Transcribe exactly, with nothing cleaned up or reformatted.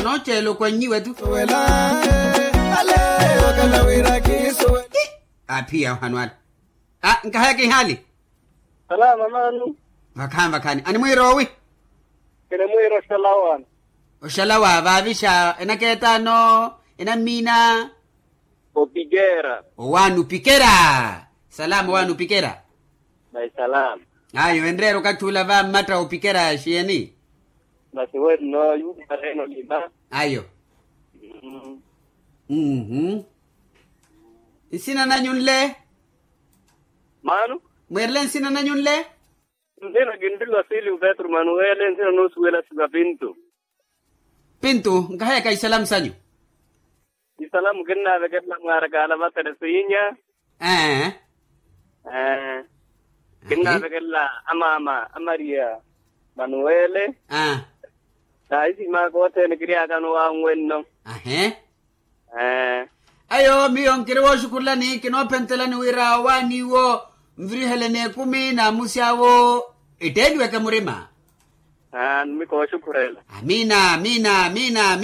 Nooceela okwannyiwe tu. Aphiya ohanu ala. Nkahaya kihali. Salama mano. Vakhaani vakhaani animwiira owi? Kinimwiira oxalawa. Oxalawa vaavixa enakeetaano? Enammiina. Opikera. Owaani opikera. Salama owaani opikera. Ayo enreera okathi ula va mmatta opikera xiyeni? Masi wenno yuupareena olima. Ayo. Nsina nanyu nle? Maano. Mweerele nsina nanyu nle? Nsina kinrila silio petro manuwele nsina noosuwela siva pintu. Pintu nkahayaka isalamu sanyu. Isalamu kinnaavekelela mwaarakaala va teresinya. Ee. Kinnaavekelela amaama a maria manuwele. Aa. Naahisimaaka othene kiriyaakano wanwenno. Ahee. Ayo miyo nkiri wooxukhurelani kinoophentelani wira owaani iwo nviriheleni ekumi naamusy'awo. Etteeliweke murima. Aa numi kooxukhurela. Amiina amiina amiina amiina.